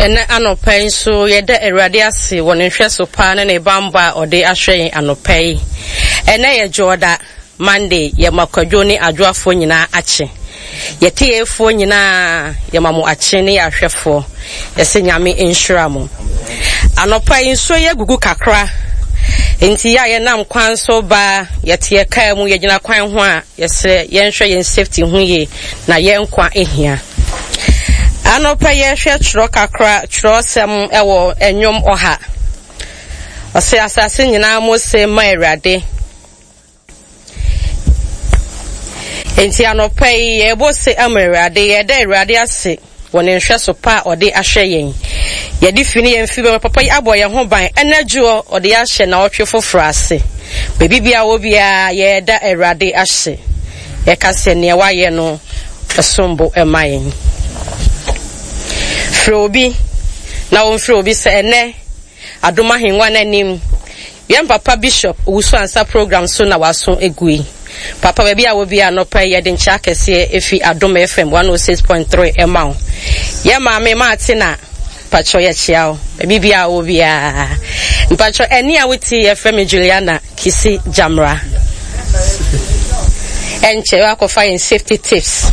Ɛnnɛ anɔpa yi nso, yɛda Awurade ase wɔ ne nhwɛso pa ne ne bammɔ a ɔde ahwɛ yɛn anɔpa yi. Ɛnnɛ yɛ Dwoɔda, Monday, yɛma Kwadwo ne Adwoafoɔ nyinaa akye. Yɛtiefoɔ nyinaa, yɛma mo akye ne yɛ ahwɛfoɔ. Yɛsɛ Nyame nhyira mo. Anɔpa yi nsuo yi agugu kakra, nti yɛ a yɛnam kwan so ba, yɛte yɛ kaa mu, yɛgyina kwan ho a, yɛsrɛ yɛnhwɛ yɛn safety ho yie na yɛn nkwa hia. Anɔpa yi yɛhwɛ twerɛ kakra twerɛsɛm wɔ nnwom ɔha. Ɔsɛ asase nyinaa mo se ma Awurade. Enti anɔpa yi yɛbɔ se ama Awurade, yɛda Awurade ase wɔ ne nhwɛso pa a ɔde ahwɛ yɛn. Yɛde fi ne yɛn fi bɛma papa yi abɔ yɛn ho ban ɛna dwoɔ ɔde ahyɛ naɔtwe foforɔ ase. Baabi biara wɔ biara yɛda Awurade ase. Yɛka sɛ nea wayɛ no som bo ma yɛn. Frɛ obi na ɔmfrɛ obi sɛ ɛnnɛ Adom Ahengua no anim yɛn papa Bishop Owusu-Ansah program so na w'aso gu yi. Papa baabi a wɔ biara anɔpa yi yɛde nkyɛ akɛseɛ efi Adom FM 106.3 ɛma wo. Yɛn maame Martina mpakyɛ yɛkyea wo baabi biara wɔ biara. Mpakyɛ ɛne a wotie yɛfrɛ me Juliana Kisi Gyamra. Ɛnkyɛ wakɔfa yɛn safety tips.